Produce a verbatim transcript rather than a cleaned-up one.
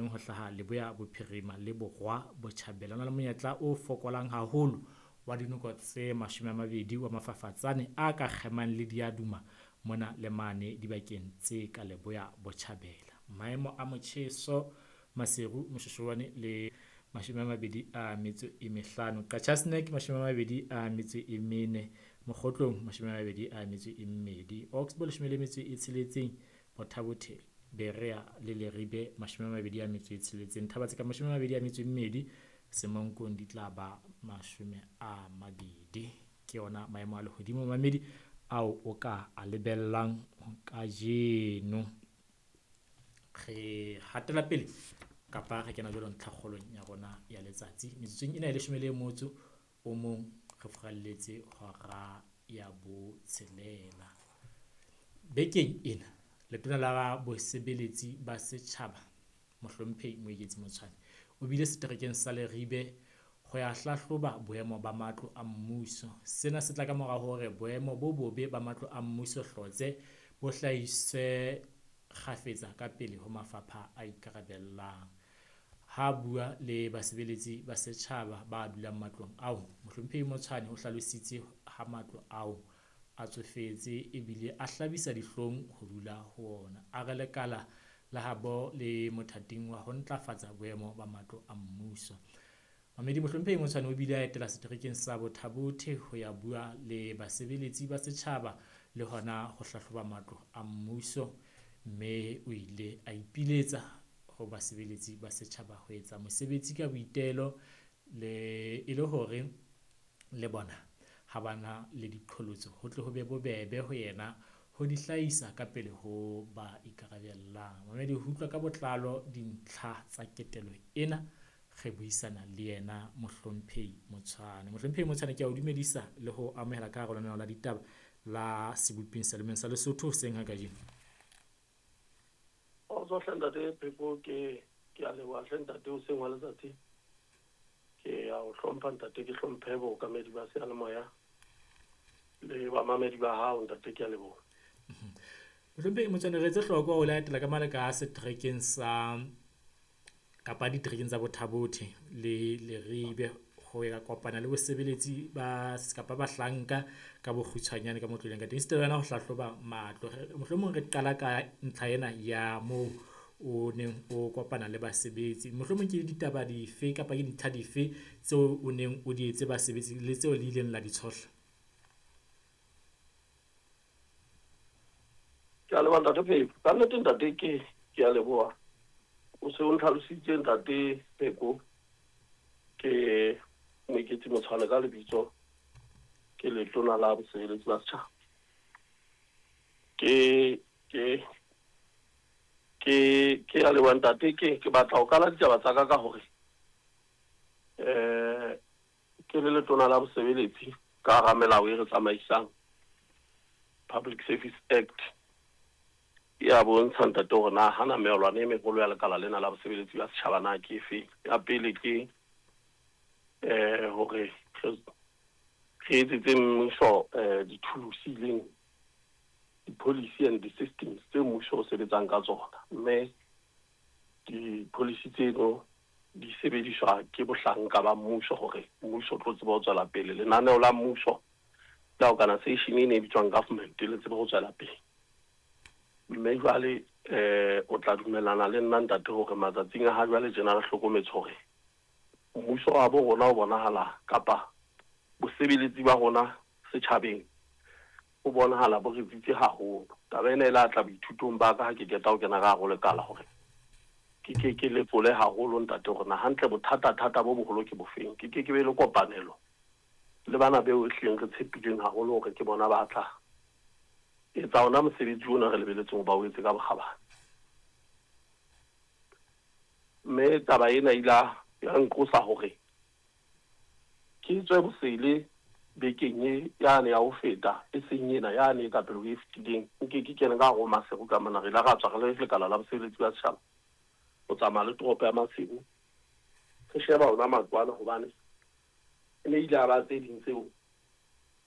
kemang ho hlaha leboya bophirima le borwa botjhabela. Ho na le monyetla o fokolang haholo wa dinoko tse mashome a mabedi wa mafafatsane a ka kgemang le diaduma mona le mane dibakeng tse ka leboya botjhabela. Maemo a motjheso Maseru, Moshoeshoane le mashome a mabedi a metso e mehlano. Qacha's Nek mashome a mabedi a metso e mene, Mokgotlong mashome a mabedi a metso e mmedi, Oxbow leshome le metso e tsheletseng, Botha-Bothe, Berea le Leribe mashome a mabedi a metso e tsheletseng, Thaba-Tseka mashome a mabedi a metso e mmedi, Semonkong di tla ba mashome a mabedi. Ke yona maemo a lehodimo mamedi ao o ka a lebellang kajeno. Re hatela pele kapa re kena jwalo ntlhakgolong ya rona ya letsatsi. Metsotsong ena e leshome le motso o mong re furalletse hora ya botshelela. Bekeng ena letona la bosebeletsi ba setjhaba Mohlomphehi Moeketsi Motshwane o bile seterekeng sa Leribe ho ya hlahloba boemo ba matlo a mmuso. Sena se tla ka mora hore boemo bo bobe ba matlo a mmuso Hlotse bo hlahiswe kgafetsa ka pele ho mafapha a ikarabellang. Ha bua le basebeletsi ba setjhaba ba dulang matlong ao, Mohlomphehi Motshwane o hlalositse ha matlo ao a tsofetse ebile a hlabisa dihlong ho dula ho ona. A re lekala la habo le mothating wa ho ntlafatsa boemo ba matlo a mmuso. Mamedi Mohlomphehi Motshwane o bile a etela seterekeng sa Botha-Bothe ho ya bua le basebeletsi ba setjhaba le hona ho hlahloba matlo a mmuso, mme o ile a ipiletsa ho basebeletsi ba setjhaba ho etsa mosebetsi ka boitelo le e le hore le bona ha bana le diqholotso ho tle ho be bobebe ho yena ho di hlahisa ka pele ho ba ikarabellang. Mamedi ho utlwa ka botlalo dintlha tsa ketelo ena, re buisana le yena Mohlomphehi Motshwane. Mohlomphehi Motshwane, ke a o dumedisa le ho amohela ka hara lenaneo la ditaba la Seboping sa Lemeng sa Lesotho hoseng ha kajeno. Kgotso hle ntate Pheko, ke ke a leboha hle ntate hoseng wa letsatsi. Ke a o hlompha ntate, ke hlomphe bookamedi ba seyalemoya le bamamedi ba hao ntate, ke a leboha. Mohlomphehi Motshwane, re etse hloko ho latela ka maleka a seterekeng sa kapa diterekeng tsa Botha-Bothe le Leribe ho ya kopana le bosebeletsi ba kapa bahlanka ka bokgutshwanyane ka mo tloleng ka teng. Esita le yona ho hlahloba matlo. Mohlomong re qala ka ntlha ena ya moo o neng o kopana le basebetsi. Mohlomong ke ditaba dife kapa ke dintlha dife tseo o neng o di etse basebetsi le tseo le ileng la di tshohla? Ke a leboha ntate Pheko. Ka nnete ntate ke ke a leboha. O se o ntlhalositse ntate Pheko, ke Moeketsi Motshwane ka lebitso, ke letona la bosebeletsi ba setjhaba. Ke ke ke ke a leboha ntate, ke ke batla ho qala ditaba tsa ka ka hore eh ke le letona la bosebeletsi ka hara melao e re tsamaisang Public Service Act ya bontsha ntate hore na hana meolwana e meholo ya lekala lena la bosebeletsi ba setjhaba na ke efe. Ya pele ke eh hore re etsetse mmuso eh dithulusi leng di-policy and di-systems tse mmuso o sebetsang ka tsona, mme di-policy tseno di sebediswa ke bohlanka ba mmuso hore mmuso o tlo tseba ho tswela pele. Lenaneo la mmuso la organization e ne e bitswang government le tsebe ho tswela pele. Mme jwale eh o tla dumellana le nna ntate hore matsatsing a ha jwale tjena re hlokometse hore mmuso wa bo rona o bonahala kapa bosebeletsi ba rona setjhabeng o bonahala bo re tsitse haholo. Taba ena e la tla boithutong ba ka ha ke qeta ho kena ka hare ho lekala hore ke ke ke lepole haholo ntate hore na hantle bothata-thata bo boholo ke bofeng. Ke ke ke be le kopanelo le bana beo ehlileng re tshepileng haholo hore ke bona ba tla etsa ona mosebetsi ona re lebeletseng ho ba o etse ka bokgabane. Mme taba ena e ile ya nqosa hore ke tswe bosele bekeng e yane ya ho feta, e seng ena yane e ka pele ho e fetileng. Nke ke kene ka hare ho Maseru ka mona, re ile ra tswa re le lekala la bosebeletsi ba setjhaba ho tsamaya le toropo ya Maseru re sheba ona matlo ana, hobane e ne ile a ba tse ding tseo